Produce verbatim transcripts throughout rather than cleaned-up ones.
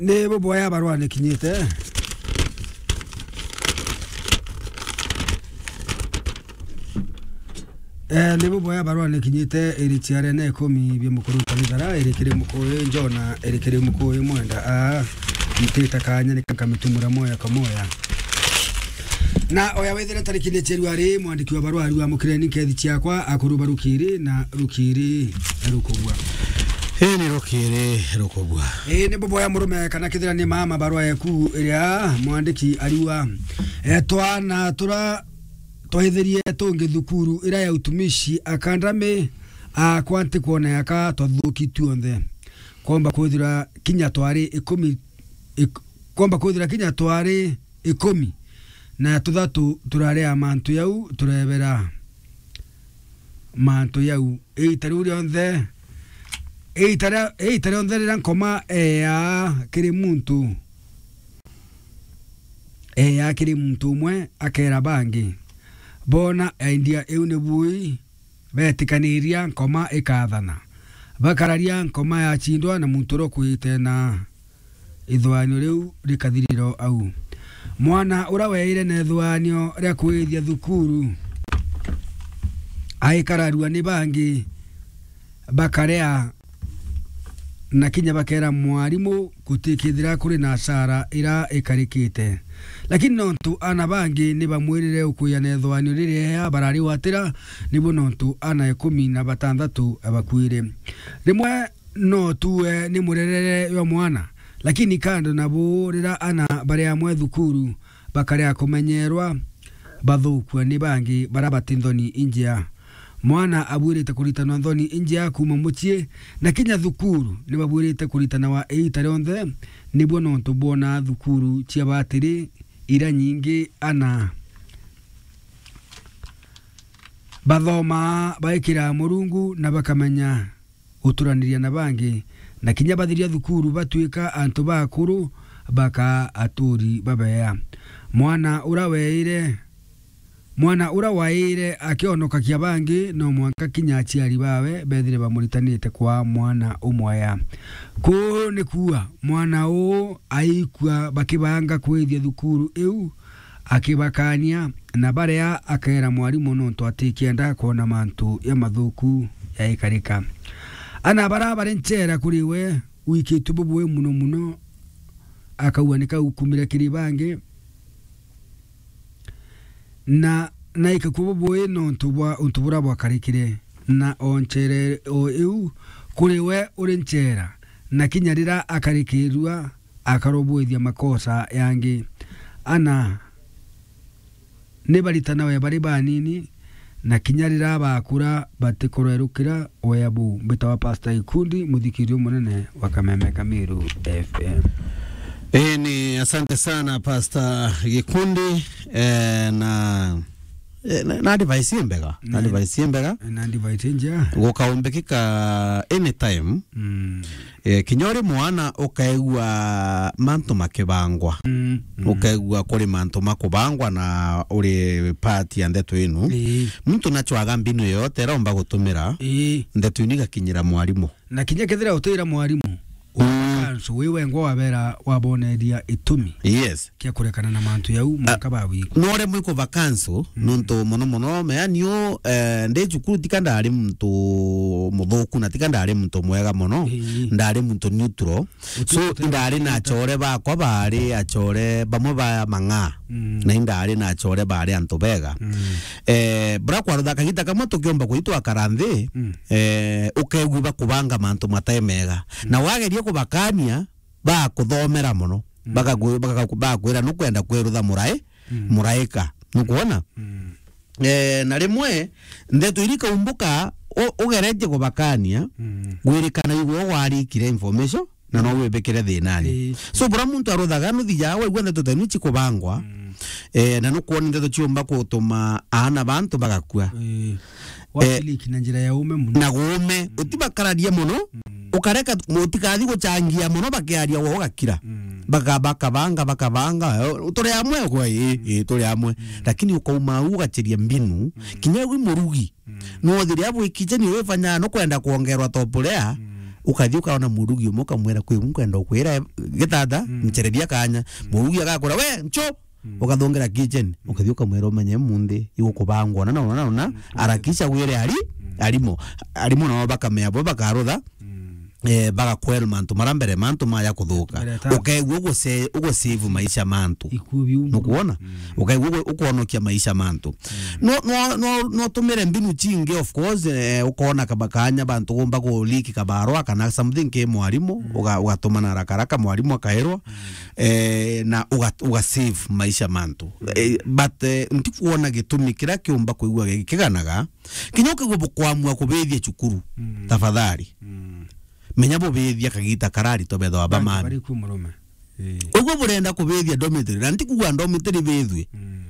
Ni buboya barua nikinyite. Eh, ni buboya barua nikinyite, iri ciare na ikumi bia mukuru Talithara, iri kiri mukuyu Jona, iri kiri mukuyu Mwenda. Ah, ntita kanya ni kamitumura moya kwa moya. Na oya wethire tariki ni cheru ari mwandiki wa barua ariwa mukireni nkethi ciakwa akuru barukiri na rukiri rukugwa. Ii ni rukiri rukugwa. Ii ni buboya murume kana kithira ni mama barua yaku iria mwandiki ariwa. E, twana tura twaithirie tungi thukuru ira ya utumishi akandami akwa ntikwona yaka twathuki tuonthe. Kwomba kwithira kinya twari ikumi, ik-, kwomba kwithira kinya twari ikumi na tuthatu turari a mantu yau turebera mantu yau. Iita riu rionthe, iita ria, iita rionthe riria nkoma eeyaa kiri muntu, eeyaa kiri muntu umwe akeera bangi, boona idea iu ni bui, beetikaniria nkoma ikaathana. Bakararia nkoma yachindwa na muntu uria ukuite na ithuanio riu rikathirira au. Mwana uria weeire na ithuanio ria kwithia thukuru aikararua ni bangi, bakarea na kinya bakeera mwarimu gutikithira kuri na asara ira ikarikite. Lakini nontu ana bangi ni bamwirire ukuya na ithuanio riria bararigwatira, nibo nontu ana ikumi na batanthatu bakuire. Rimwe no tuwe ni murerere jwa mwana, lakini kando na buu, riria ana bari amwe thukuru bakarea kumenyerwa, bathukua ni bangi bara bati nthoni injia. Mwana abuirite kuritanwa nthoni injia kuuma mucii, na kinya thukuru ni babuirite kuritanawa iita rionthe, nibuo nontu bwona thukuru cia batiri ira nyingi ana bathomaa baikira Murungu na bakamenya guturaniria na bangi, na kinya bathiria thukuru batwika antu bakuru, baka aturi babeea. Mwana ura weire, mwana ura waire akionokagia bangi, no mwanka kinya aciari bawe bethire bamuritanite kwa mwana umwea. Kuu ni kuuga, mwana uu aikua bakibanga kwithia thukuru iu, akibakania, na baria akeera mwarimu nontu atikienda kwona mantu jamathuku jaikarika. Ana bara bari nchera kuri we, wikitue bubui muno muno, akauga ni kau kumire kiri bangi, na naikakua bubui nontu bwa untu buria bwakarikire, na o nchere o iu kuri we uri nchera, na kinya riria akarikirua, akarobwithia makosa yangi. Ana ni baritanawe bari banini, na kinya riria bakura batikurerukira wea buu. Mbitawa Pastor Gikundi, muthikirio munene wa Kameme Kamiru F M. Ii ni asante sana Pastor Gikundi, eh, na, eh, na, na advice imbega, na, mm, advice imbega. Na advice njega. Gukaumbikika anytime. Mm. Eh, kinya uri mwana ukaigua mantu makibangwa. Mm, mm. Ukaigua kuri mantu makubangwa na uri part ya ndeto inu. Ii. Muntu nachwaga mbinu yoyote ira umba gutumira, ii, ndeto inu igakinyira mwarimu. Na kinya kethira utira mwarimu, mm, kanso wi wengwa wabera waboneria itumi. Yes. Kia kurekana na mantu jau, mwanka bawigua. No uremwe kuba kanso, mm, nontu mono mono, meani u, eh, ndi cukuru tika ndari muntu muthuku na tika ndari muntu mwega mono, ii, ndari muntu neutral. So, indari na achore bakwa bari achore bamwe ba mang'aa, mm, na indari na achore bari antu bega. Mm. Eh, bra kwarutha kagita kamwe tukiomba kuitwa kara nthi, mm, eh, ukaigua bakubanga mantu matai mega. Mm. Na wageria kubakania, bakuthomera mono. Mm. Bakaku-, bakaku-, bakwira nukwenda kwirutha murai-, mm, muraika. Nukwona? Mm. Eh, na rimwe, ndeto iri kaumbuka, u-, ugeretie kubakania, mm, gwirikana igwe warikire information, na no wibikire thinani. Ii. So, bura muntu aruthaga nuthi ja waigua ndeto tenu cikubangwa, mm, eh, na nukwona ndeto ciumba kutuma aana bantu bagakua. Ii. Eh, wasiliki na njira ya ume muno. Na guume, mm, utibakararia muno, mm, ukareka, utikathi guchangia muno bakiaria wo ugakira. Mm. Baka-, bakabanga, bakabanga, eh, turi amwe kwa, ii, mm, ii, turi amwe. Mm. Lakini ukauma au ugacheria mbinu, mm, kinya wi murugi. Mm. No thiria bwikije ni wifanya no kwenda kuongerwa top layer, mm, Ukathi ukaona murugi umwe, ukamwira, "Kwi u nkwenda ukwira gitata, mm, nchereria kanya." Mm. Murugi agakwira, "We, ncho!" Mm. Ukathongera kitchen, mm, ukathi ukamwira, "Umenye munthi igukubangwa na, na, na, na, na, mm, arakisha wire ari, mm, arimo." Arimo nao bakamea bo bakarutha, mm, eh, bagakwel mantu mara mbere, mantu maya kuthuka. Mbere ta- Ukaigua uguse-, ugusave maisha mantu. Ikuo biu. Nukwona? Mm. Ukaigua ugu-, ukwonokia maisha mantu. Mm. No, no, no, no tumire mbinu chingi, of course, eh, ukona kaba kanya bantu gumba ku leak kabarua kana something ki mwarimu, mm, uga-, ugatumana haraka haraka mwarimu akairwa, mm, eh, na uga-, ugasave maisha mantu. Mm. Eh, but, eh, ntikwona gitumi kiria kiumba kwigua gikiganaga, kinya ukigua bukwamua kubithia cukuru, mm, tafadhali. Mm. Menya bubithia kagita karari to betho aba. Bangi mami. Bari ku murume. Eh. Uguo burenda kubithia dormitory, na ntikugua dormitory bithwe. Mm.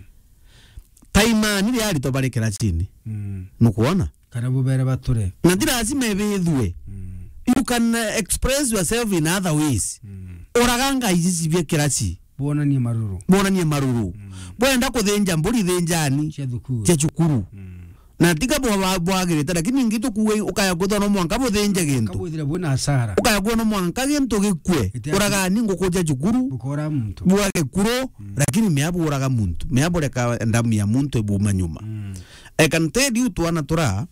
Taimani ria arito bari kiracini. Mm. Nukwona? Kana bubere bature. Na ti lazima ibithwe. Mm. You can, uh, express yourself in other ways. Mm. Uraganga ici cibie kiraci. Bwonanie maruru. Bwonanie maruru. Mm. Bwenda kuthinja mburi, thinjani. Cia thukuru. Cia cukuru. Mm. Na tiga bwa-, bwa-, bwagirite, lakini ingi tukuwe ukaya kwithwa no mwanka buthinje gintu. Kabwithire bwina hasara. Ukaya kwithwa no mwanka gintu gikue. Ite- Uragani nguku cia cukuru. Bukora muntu. Bwage kuro, mm, lakini mea buraga muntu. Mea bureka ndamu ya muntu ibuma nyuma. Mm. I can tell you twana tura,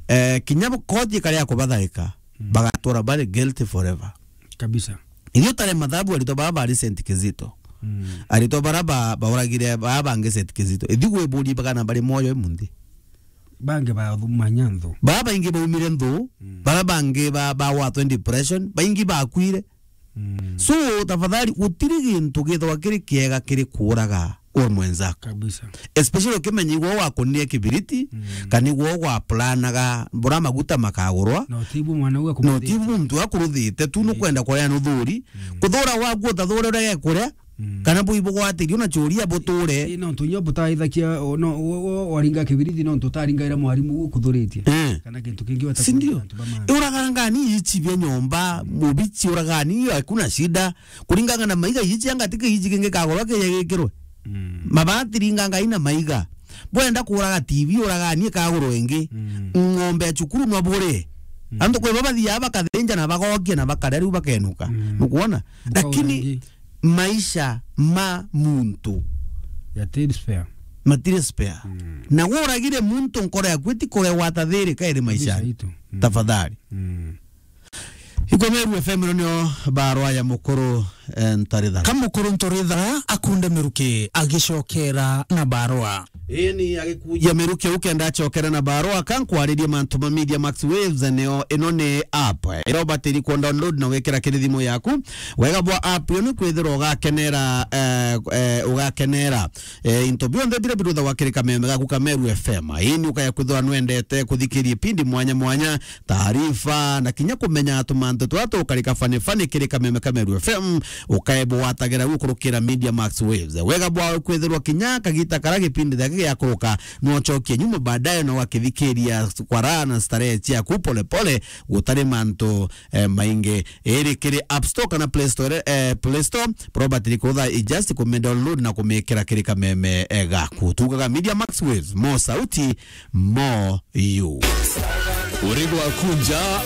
eh, kinya bu-, koti karia kubathaika, mm, bagatura bari guilty forever. Kabisa. Ithuĩ tare mathabu aritwa baa bari Saint Kizito. Mm. Aritwa bara ba-, bauragire baa bangi Saint Kizito. Ithi gwiburi bagana bari moyo imunthi. Bangi ba manya nthu. Baa baingi baumire nthu, mm, bara bangi ba-, bagwatwe depression, baingi bakwire. Mm. So, tafadhali, gutiri gintu githwa kiri kiega kiri kuuraga uri mwenzako. Kabisa. Especially ukimenya igwe wakunire kibiriti, mm, kana igwe gwaplanaga bura maguta makagurwa. Na utibu mwana uga. Na utibu muntu akuruthite tu, eh, nukwenda kuria nuthuri. Mm. Kuthura gwaku utathure uria gekuria, mm, kana bui bugwatirio na churia buture. Ii, no ntu nyo butaithakia, o, no, o, o, waringa kibiriti, no ntu utaringaira mwarimu ukuthuritie. Eh. Kana gintu kingi wata. Si ndio? Antu ba maana. Uragangani ichi bia nyomba, mubichi uragani, hakuna shida. Kuringana na maiga ichi anga tiki ichi kingi kagorwa kija gikirwe. Mm. Mabati ringanga ina maiga. Bwenda kuraga T V uragani kagorwa ingi. Mm. Ng'ombe ya cukuru no bure. Mm. Antu kwe babathia bakathinja na bagokia na bakaria riu bakenuka. Mm. Nukwona? Lakini maisha ma muntu yatiri spare. Matiri spare. Mm. Na guragire muntu nkoro yaku itikoregwa tathiri kairi maisha. Kabisa itu. Mm. Tafadhali. Mm. Ikwa Meru F M ino nio barwa ya mukuru, eh, Ntarithara. Ka mukuru Ntarithara akunde miruki agicokera na barwa. Ii ni agikuja miruki ukenda acokera na barwa, ka nkwaririe mantu ma Media Max Waves, nio ino ni app ira ubatiri ku download na wikira kiri thimu yaku. Wega bwa app iyo ni kwithirwa ugakenera, eh, eh, ugakenera, eh, into bionthe biria biruthagwa kiri kameme gaku ka Meru F M. Ii ni ukaya kwithirwa nwendete kuthikiria ipindi mwanya mwanya, taarifa, na kinya kumenya tumantu twa tukarika fani fani kiri kameme ka Meru F M, ukae bwatagira gukurukira Media Max Waves. Wega bwa kwithirwa kinya kagita kara gipindi gaki giakuruka, no ucokie nyuma baadaye na ugakithikiria kwa raha na starehe ciaku pole pole, gutari mantu, eh, maingi. Iri kiri App Store kana Play Store, eh, Play Store, Robert Likotha, i just kume download na kumikira kiri kameme, eh, gaku. Tugaga Media Max Waves, mo sauti, mo you. Uri gwakunja.